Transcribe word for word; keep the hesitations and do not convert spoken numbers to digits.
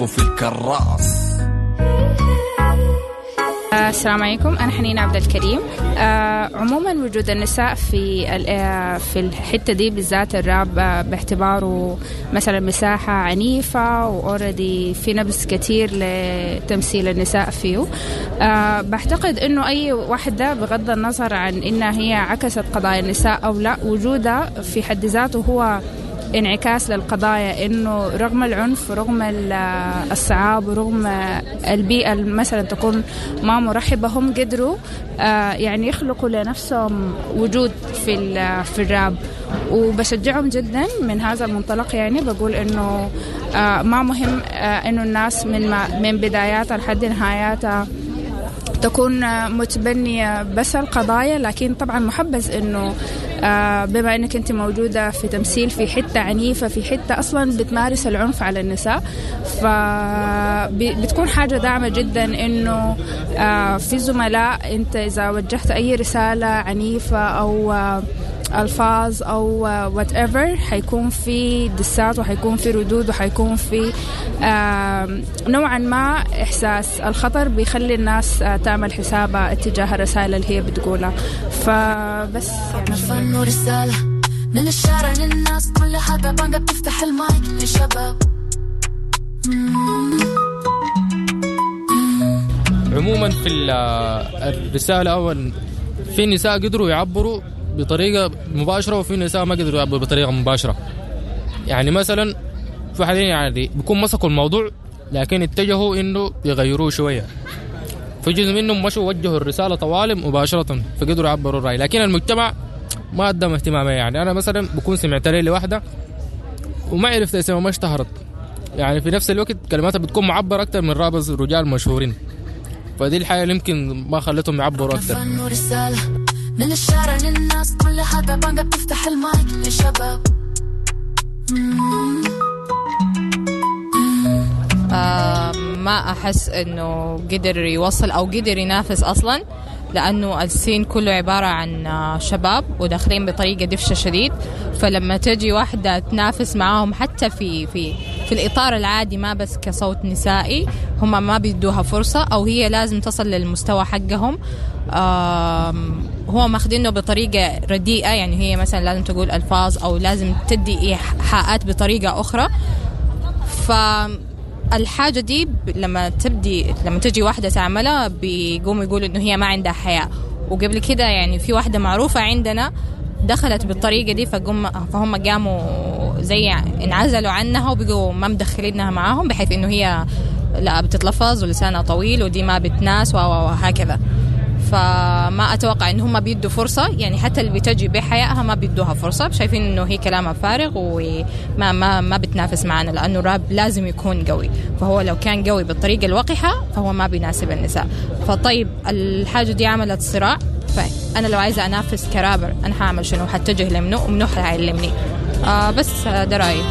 يلفوا في الكراس. السلام عليكم، أنا حنين عبد الكريم. آه عموما وجود النساء في في الحتة دي بالذات الراب باعتباره مثلا مساحة عنيفة و already في نبذ كتير لتمثيل النساء فيه. آه بعتقد إنه أي واحدة بغض النظر عن إنها هي عكست قضايا النساء أو لا، وجودها في حد ذاته هو انعكاس للقضايا، إنه رغم العنف ورغم الصعاب ورغم البيئة مثلا تكون ما مرحبة، هم قدروا يعني يخلقوا لنفسهم وجود في في الراب، وبشجعهم جدا من هذا المنطلق. يعني بقول إنه ما مهم إنه الناس من من بداياتها لحد نهاياتها تكون متبنية بس القضايا، لكن طبعا محبذ إنه بما أنك أنت موجودة في تمثيل في حتة عنيفة، في حتة أصلا بتمارس العنف على النساء، فبتكون حاجة داعمة جدا إنه في زملاء أنت إذا وجهت أي رسالة عنيفة أو ألفاظ أو whatever حيكون في دسات وحيكون في ردود وحيكون في نوعا ما إحساس الخطر بيخلي الناس تعمل حسابها اتجاه الرسائل اللي هي بتقولها. فبس يعني فن ورسالة من الشارع للناس كلها، بانجا بتفتح المايك للشباب. عموما في الرسالة أول في نساء قدروا يعبروا بطريقة مباشرة وفي نساء ما قدروا يعبروا بطريقة مباشرة. يعني مثلا في حالين يعني بيكون مسكوا الموضوع لكن اتجهوا إنه يغيروه شوية، في جزء منهم مشوا وجهوا الرسالة طوال مباشرة فقدروا يعبروا الرأي، لكن المجتمع ما قدم اهتمامه. يعني أنا مثلا بكون سمعت لي لوحدة وما عرفت اسمها، ما اشتهرت، يعني في نفس الوقت كلماتها بتكون معبر أكتر من رابز رجال مشهورين، فدي الحاجة اللي يمكن ما خلتهم يعبروا أكتر. من الشارع للناس كلها بانجا بتفتح المايك للشباب. آه ما أحس إنه قدر يوصل أو قدر ينافس أصلا، لأنه ال scene كله عبارة عن شباب وداخلين بطريقة دفشة شديد، فلما تجي واحدة تنافس معاهم حتى في في في الإطار العادي ما بس كصوت نسائي، هم ما بيدوها فرصة أو هي لازم تصل للمستوى حقهم. هو ماخدينه بطريقة رديئة، يعني هي مثلا لازم تقول ألفاظ أو لازم تدي إيحاءات بطريقة أخرى. فالحاجة دي لما تبدي لما تجي واحدة تعملها بيقوموا يقولوا إنه هي ما عندها حياء. وقبل كده يعني في واحدة معروفة عندنا دخلت بالطريقة دي، فقوم فهم قاموا زي انعزلوا عنها وبقوا ما مدخلينها معاهم، بحيث إنه هي لا بتتلفظ ولسانها طويل ودي ما بتناس وهكذا. فما أتوقع إن هم بيدوا فرصة، يعني حتى اللي بتجي بحيائها ما بيدوها فرصة، شايفين إنه هي كلامها فارغ وما ما ما بتنافس معنا، لأنه الراب لازم يكون قوي، فهو لو كان قوي بالطريقة الوقحة فهو ما بيناسب النساء. فطيب الحاجة دي عملت صراع، فأنا لو عايزة أنافس كرابر أنا هعمل شنو؟ هتجه لمنو ومنو هيعلمني؟ آه بس ده رأيي.